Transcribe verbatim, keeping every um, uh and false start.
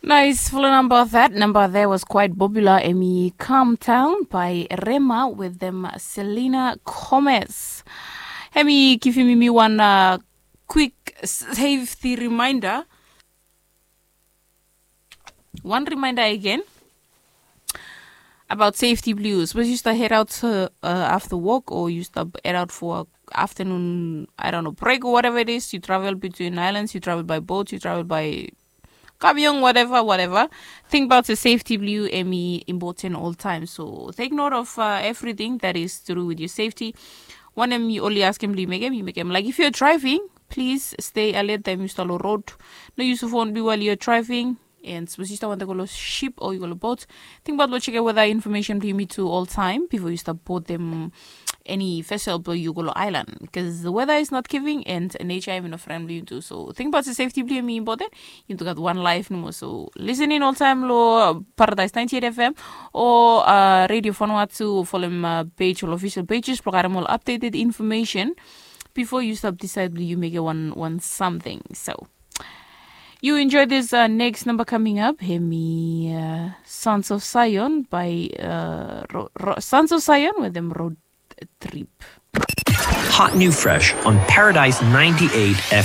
Nice, folo namba that namba there was quite popular. Emi Calm Down by Rema with them Selena Gomez. Emi giving me one uh, quick safety reminder. One reminder again about safety blue. Suppose you start head out uh, uh, after work or you start head out for afternoon, I don't know, break or whatever it is. You travel between islands, you travel by boat, you travel by kabiong, whatever, whatever. Think about the safety blue emi important all time. So take note of uh, everything that is to do with your safety. Wanem yu oli askem blong yu mekem, yu mekem like if you're driving, please stay alert taem yu stap long road. No use phone blong yu while you're driving. And suppose you start want to go long ship or you go long boat, think about lo check weather information blong yumi too all time before you start board them any vessel blong you go long island, because the weather is not giving and nature emi no friend blong you too. So think about the safety blong yumi important. Yumi too gat one life nomo. So listening all time lo Paradise ninety-eight F M or uh, Radio Vanuatu, follow uh, page or official pages blong gat all updated information before you stop decide you make it one one something. So you enjoy this uh, next number coming up. Hemi uh, Sons of Zion by uh, Ro- Ro- Sons of Zion with them Road Trip. Hot new fresh on Paradise ninety-eight F M.